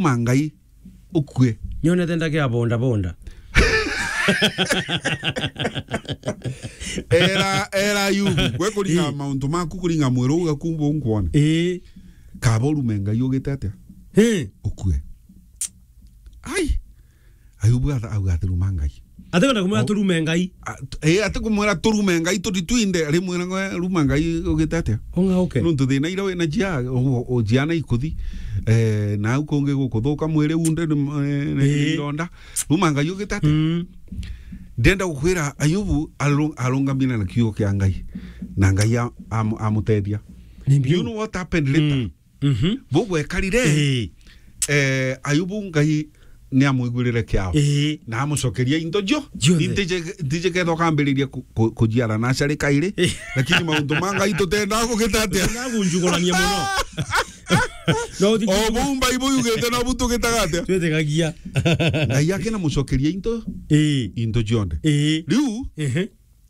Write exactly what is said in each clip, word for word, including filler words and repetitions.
ma Ngai ukue. Nyonete ndake ya bonda bonda. Era, era Ayubu, gwe kuringa Eh. mauntu maku, kuringa mwiri uga kumbu nkwona. Eh. Kaba urume Ngai ugite atia? Eh. Ukue. Ai. Ayubu atha-, auga ati, "Ruma Ngai." Ati kwenda kumwira A-, turume Ngai? A-, t-, eh, ati kumwira turume Ngai, tuti twinde, rimwira ngwe, "Ruma Ngai ugite atia?" Ung'auke. Nuntu thina ira wina jia, u-, u-, jiana ikuthi, eh, na au kungi gukuthuka mwiri unde ni, eh, ni, ni Eh. ironda. "Ruma Ngai ugite atia?" Mm. Ndenda gukwira Ayubu aru-, arungamire na kiugo kia Ngai. Na Ngai a-, amu-, amutethia. Ni Do you biu. know what happened later? Mm. Mhm. Bugwekarire, Eh. eh, Ayubu Ngai ni amwigurire kiao. Eh. Na amucokeria into cio. Cionthe. Nintije, ntije ketho kambiriria ku-, ku-, kujiara na acari kairi. Eh. Lakini mauntu ma Ngai tutenda kugita atia? Tutenda kunjugurania muno. No, ti O bumba ibu yugite no bu tugitaga atia? Twitikagia. Ngai akina mucokeria into, Eh. into cionthe. Eh. Riu, Ehe.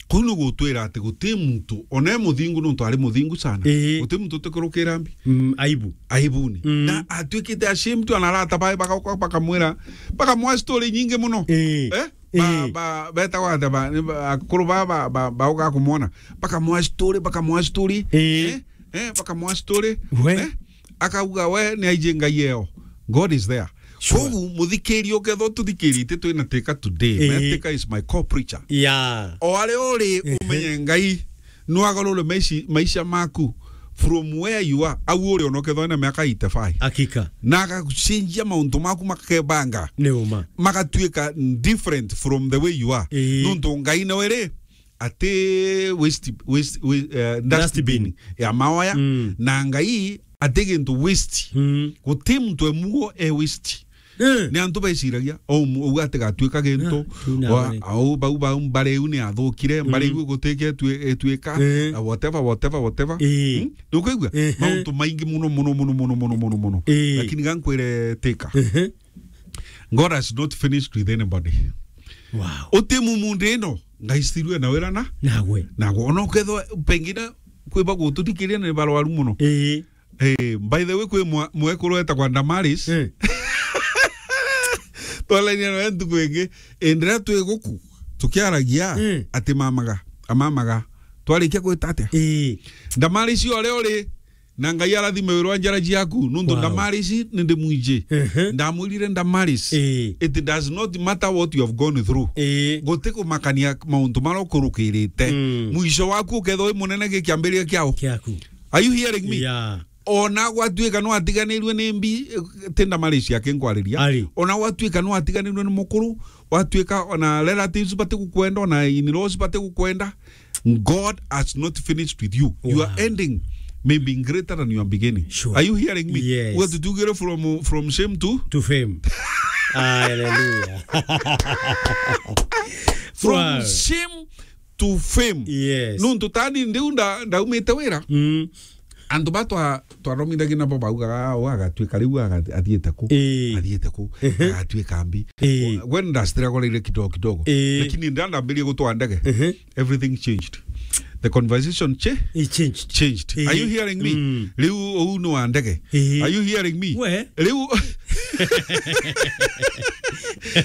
Kuu ni gutwira ati guti muntu, ona e muthingu, nontu ari muthingu sana. Ii. Guti muntu utikurukira mbi. Mm, aibu. Aibuni. Mm. Na atuikite ashamed, ana arata bae bagauka bakamwira, bakamwa story nyingi muno. Ii. Eh? Ba-, Ii. ba-, betagwa atia ba-, ni ba-, akuru ba, ba, ba, bauka kumwona. Bakamwa story, bakamwa story. Ii. Eh? Eh, bakamwa story. We. Eh? Akauga, "We ni aiji Ngai eo." God is there. Sure. Kogu, muthikiria, ukethwa tuthikirite twina Teka today. Ii. Me Teka is my co-preacher. Yeah. O aria uri, Ehe. umenye Ngai no agarure maici-, maisha maku from where you are. Au uri ona ukethwa na miaka eighty-five. Hakika. Na agacenjia mauntu maku makebanga. Ni uma. Magatuika different from the way you are. Ii. Nontu Ngai nawe ri, ati waste, waste, waste, eh, dustbin Dustbin. ya maoya, Mm. na Ngai ati gintu waste. Mm. Guti muntu e muo e waste. Eh. Ni antu beciragia, o mu-, uga atigatuika gintu, Ah, tu na wa-, wale. au bau, bau, mbare iu ni athukire, mbare Mm. iu gutike etui-, etuika, Eh. na whatever, whatever, whatever. Eh. Hmm? Ni ukwigua? Ehe. Mauntu maingi muno, muno, muno. Eh. Lakini ga nkwire Teka. Ehe. God has not finished with anybody. Wow. Uti mumu ndi ino, Ngai still ena wira na? Nagwe. Nagwe. Ona ukethwa pengine kwi bagututhikiria ni barwaru muno. Ii. Eh, by the way, kwi mwa-, mwekuru etagwa Damaris. Eh. Twarainia nawe ntuku ingi. Indira twi guku, tukiaragia, Eh. ati mamaga, amamaga. Twarikia gwita atia? Ii. Damaris, o aria uri, na Ngai arathime wira wa njara ciaku, nontu Wow. Damaris ni ndi mwiji. Ehe. Ndamwirire Damaris, Ii. it does not matter what you have gone through. Ii. Guti kumakania mauntu maria ukurukirite. Mm. Mwisho waku ukethwa wi munene gi kiambiria kiao. Kiaku. Are you hearing me? Yeah. Ona gwatuika no atiganirue ni mbi, eh, ti Damaris aki nkwariria. Ari. Ona gwatuika no atiganirue ni mukuru, gwatuika ona relatives bati gukwenda, ona in-laws bati gukwenda, God has not finished with you. You are Wow. ending maybe greater than you are beginning. Sure. Are you hearing me? Yes. Uga tutugire from, from shame to? To fame. Hallelujah. From Wow. shame to fame. Yes. Nontu tani ndiu nda-, ndaumite wira. Mm. Antu ba twa-, twaromithagia nabo baugaga, "Ah, uu agatuika riu aga-, athiite ku? Ii. Athiite ku? Ehe. Agatuika mbi." Ii. Gwe ndastruggle kidogo kidogo. Ii. Lakini nda ndambirie gutwara ndege, Ehe. everything changed. The conversation cha-, It changed. changed. Ii. Are you hearing me? Mm. Riu uu ni wa ndege. Ii. Are you hearing me? We? Riu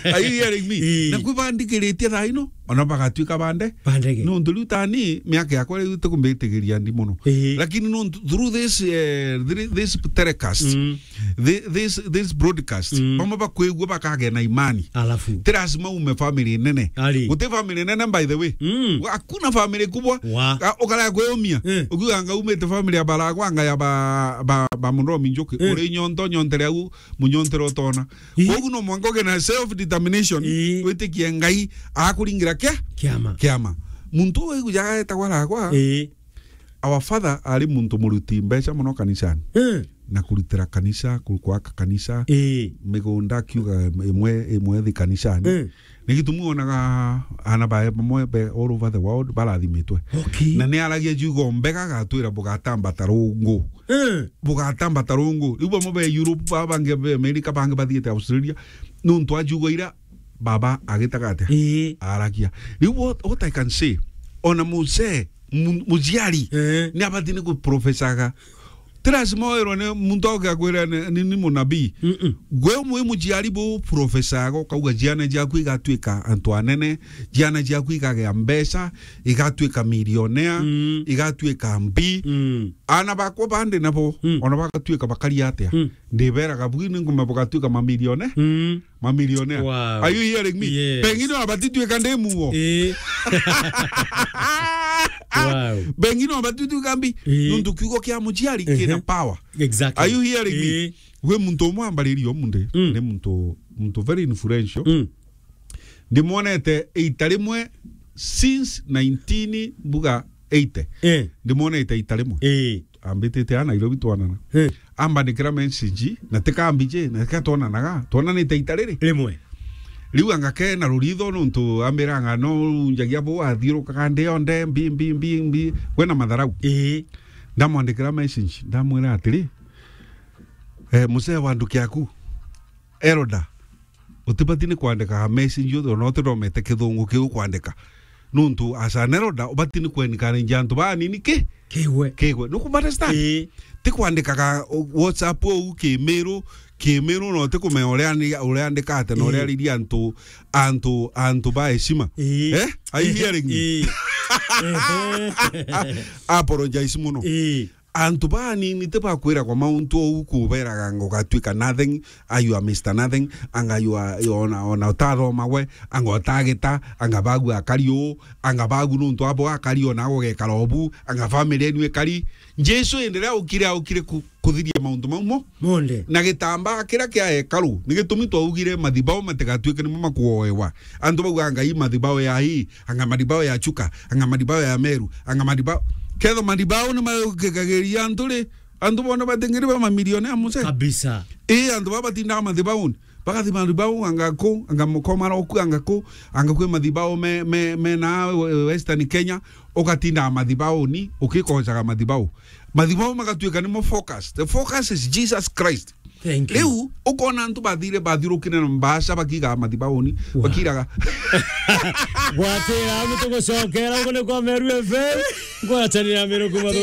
Are you hearing me? Ii. Na kwi bandikiritie thaa ino, ona bagatuika bande. Bandege. Nontu riu tani, miaka yakwa riu tikumbitigiria ndi muno. Ii. Lakini nontu through this, eh, through this telecast, Mm. thi-, this, this broadcast, Mm. bamwe bakwigua bakagea na imani. Alafu. Ti lazima ume family nene. Ari. Guti family nene, by the way. Mm. Hakuna family kubwa. Wa. Ga-, ukarega kwiumia. Eh. Ukiuga anga umite family ya baragwa, anga ya ba, ba, ba Mundomi Njuki. Eh. Uri nyonto, nyontere au, munyontere utona. Ii. Koguo no mwanka uge na self determination, Ii. witikie Ngai akuringira kia? Kiama. Kiama. Muntu uu wigujaga etagwa Ragwa, Ii. our father ari muntu muruti mbeca muno kanisani. Eh. Na kurutira kanisa, ku-, kwaka kanisa, Ii. migunda akiuga imwe, imwe thi kanisani. Eh. Ni gitumi wonaga ana bae bamwe be all over the world barathimitwe. Okay. Na ni aragia ciugo mbega agatwira bugatambata rungu. Eh. Bugatambata rungu. Riu bamwe be Europe, ba-, bangi be America, bangi bathiite Australia. Nontu wa ciugo ira baba agitaga atia? Ii. Aragia. Riu what, what I can say, ona muzee, mu-, muciari, Eh. ni abati ni kuprofesaga Ti lazima oerwe ni muntu oke akwire ni, ni, ni munabii. Mm-mm. Gwe mwi muciari bu professor yago, kauga ciana ciaku igatuika antu anene, ciana ciaku igagea mbeca, igatuika millionaire, Mm. igatuika mbi. Mm. Ana bakwa bandi nabo, Mm. ona bagatuika bakari atia. Mm. Ndiberaga bwi ni nguma bugatuika mamilione. Mm. Mamilionea. Wow. Are you hearing me? Yes. Pengine wabatituika ndi muo. Eh. Wow. Pengine wabatituika mbi. Eh. Nuntu kiugo kia muciari Ehe. kina power. Exactly. Are you hearing me? Eh. We muntu umwe ambaririo munde. Mm. Ni muntu, muntu very influential. Mm. Ndimwonete ita rimwe since nineteen mbuga eighty. Eh. Ndimwonete ita rimwe. Eh. Ambitite a Nairobi twanana. Eh. Ambandikira message, na tikambije, na tika twonanaga. Twonanite ita riri. Rimwe. Riu anga ke na ruritho nuntu ambiranga no unjagia bu athiurukaga ndi yonde, mbi, mbi, mbi, mbi. We na matharau. Ii. Ndamwandikira message, ndamwira atiri, "Eh, mzee wa nduki yaku, elder, utibati ni kwandika message yothe, ona utithomete kithungu kiu kwandika. Nuntu as an elder, ubati ni kwencourage antu banini ki? Kigwe. Kigwe. Nuku understand? Ii. Ti kwandikaga WhatsApp ou kimiru, kimiru, no ti kumenya uria ni, uria andikate, na uria Ii. ariria antu, antu, antu ba heshima." Ii. Eh? Are you hearing me? Ii. Ehe. Apologize muno. Ii. Antu banini ti bakwiragwa mauntu ou kuberaga anga ugatuika nothing, a you are Mister Nothing, anga you are, you are ona, ona utathoma gwe, anga utagita, anga bagu akari uu, anga bagu nuntu abo akari ona agugekara obu, anga family yenu ikari. Jesu indi riria aukire, aukire ku-, kuthiria mauntu mau mo. Monde. Na gitambaa kiria kia hekalu, ni gitumi twaugire mathibau matigatuike nimo makuoewa. Antu bauga, "Ngai, mathibau ya hii, anga mathibau ya Chuka, anga mathibau ya Meru, anga mathibau." Ketho mathibau ni maukikagiria antu ri, antu bona batingiri ba mamilioni ya muse. Kabisa. Ii, antu baba batindaga mathibauni. Bagathi mathibau anga ku, anga mukoma roku, anga ku, anga kwi mathibau me, me, me na Western Kenya, ugatindaga mathibauni, ukikocaga mathibau. Mathibau magatuika nimo focus. The focus is Jesus Christ. Thank you. Riu, ukona antu bathire bathirukire na mbaca bakiigaga mathibauni, Wow. bakiraga. Gwatira, antu tugucokera, ugu ni kwa Meru F M. Ngwatanira Meru kuma